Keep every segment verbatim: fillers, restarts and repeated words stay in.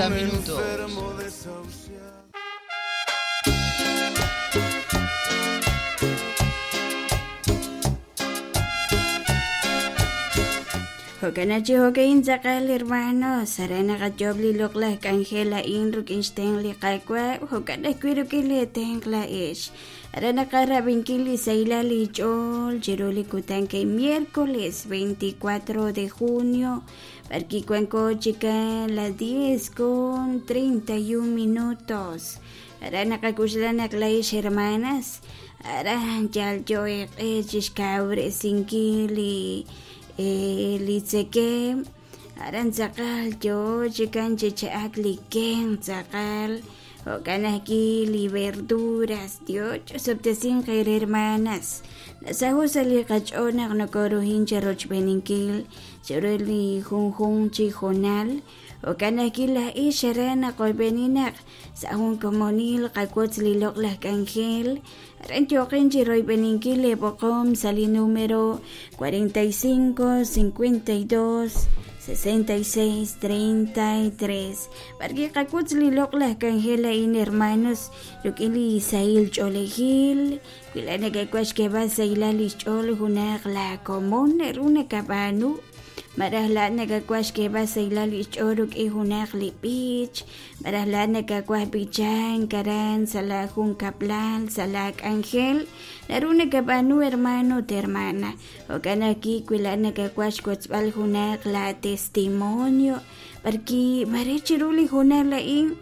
cuarenta minutos. Jokanachi jokein tzaqal hermano, sarana qachobli loqlaj k'anjel a'in ruk'in xtenq li qakwa, jokanaj wi ruk'in li tenq la'ex. Arana qarab'inkil li saylal li ch'ool chiru li kutan kay miércoles veinticuatro de junio, parki kuanko chika las diez con treinta y un minutos. Arana qakuxlanak la'ex hermanas, aran yal yo'eq'ech xkawresinkil li li tzekem, aran tzaqal yo chikan chichak li ken tzaqal, jokanaki li verduras, Dios chosoptesin qer hermanas. Nasahu sa li qach'onaq nokoruhin cherochbeninkil, cheroli junjun chijonal, jokanaki la ix aran qoybeninaq, sahun komonil qakotz li loqlaj k'anjel, aran yoqin chiroybeninkil leboqom sali número cuarenta y cinco, cincuenta y dos, sesenta y seis, treinta y tres. Parki qakutz li loqlaj k'anjel a'in hermanos, ruk'in li Isail ch'olejil, wilana kakwax keba sailal ixch'ol junaq la komon runa kab'anu. Maraj la nakakwax keba sailal ixch'ol ruk'in junaq li b'ich, maraj la nakakwax b'ichan karan sala jun kaplal sala k'anjel, naruna kab'anu hermano te hermana. Jokanaki wila nakakwax kotzb'al junaq la testimonio, parki mare chiru li junaq la'in,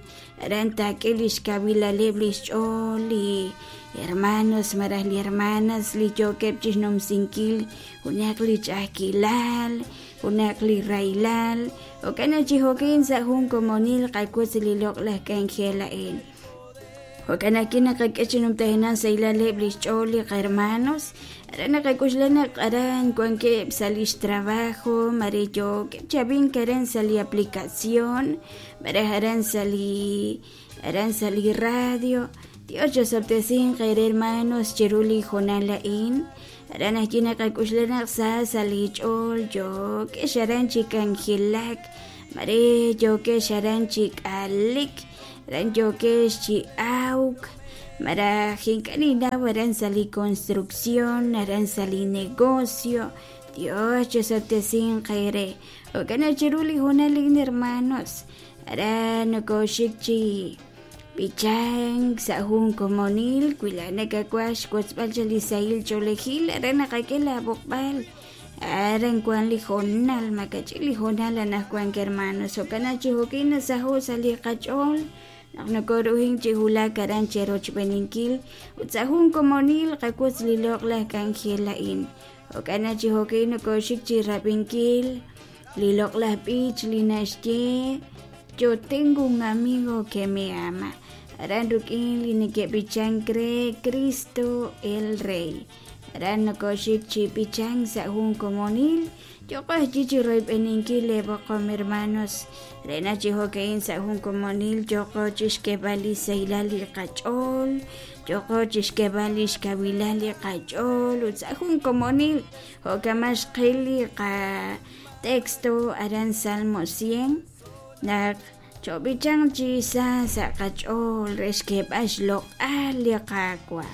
aran tak'il ixkawilaleb lixch'ol li hermanos maraj li hermanas li yokeb chixnumsinkil junaq li ch'ajkilal, junaq li raylal, jo'kan chi jo'kin sa' jun komonil qakutz li loq'laj k'anjel a'in. Jo'kan aki naqak'e chinumtajinan saylaleb lixch'ool li hermanos, aran naqak'uxlanaq aran wankeb' sa' lix trabajo, mare yokeb' chab'in karan sa' li aplicación, maraj aran sa' li aran sa' li radio. Dios chosoptesin qer hermanos chiru li jonal a'in. Aran ajki naqak'uxlanaq sa' sa' li ch'ool yokex aran chi k'anjelak, mare yokex aran chi k'alik, aran yokex chi awk, maraj ink'aninaw aran sa' li construcción, aran sa' li negocio. Dios chosoptesin qere. Jo'kan chiru li jonal a'in hermanos, aran nokoxik chi b'ichank sa' jun komonil, wila nakakwax kotzb'al cha li sahil ch'oolejil, aran naqak'e la b'oqb'al, aran kwan li jonal, makach'i li jonal anajwan hermanos. Jo'kan chi jo'kin nasajo sa' li qach'ool, naq nokoruhin chi wulak aran cherochb'eninkil, ut sa' jun komonil qakutz li loq'laj k'anjel a'in. Jo'kan chi jo'kin nokoxik chi rab'inkil li loq'laj b'ich li naxye Yo tengo un amigo que me ama. Aran ruk'in li neke'b'ichan kre Cristo el Rey. Aran nokoxik chi b'ichan sa' jun komonil. Yoq'oj chi chi royb'eninkil leb'oqom hermanos. Rena chi jo'ke'in sa' jun komonil yoq'oj chi xk'eb'al li saylal li qach'ool. Yoq'oj chi xk'eb'al li xkawilal li qach'ool. Ut sa' jun komonil jo'kamax qil li qa texto aran Salmo cien. Naq chob'ichan chi sa sa' qach'ool re xk'eb'al xloq'al li qakwa.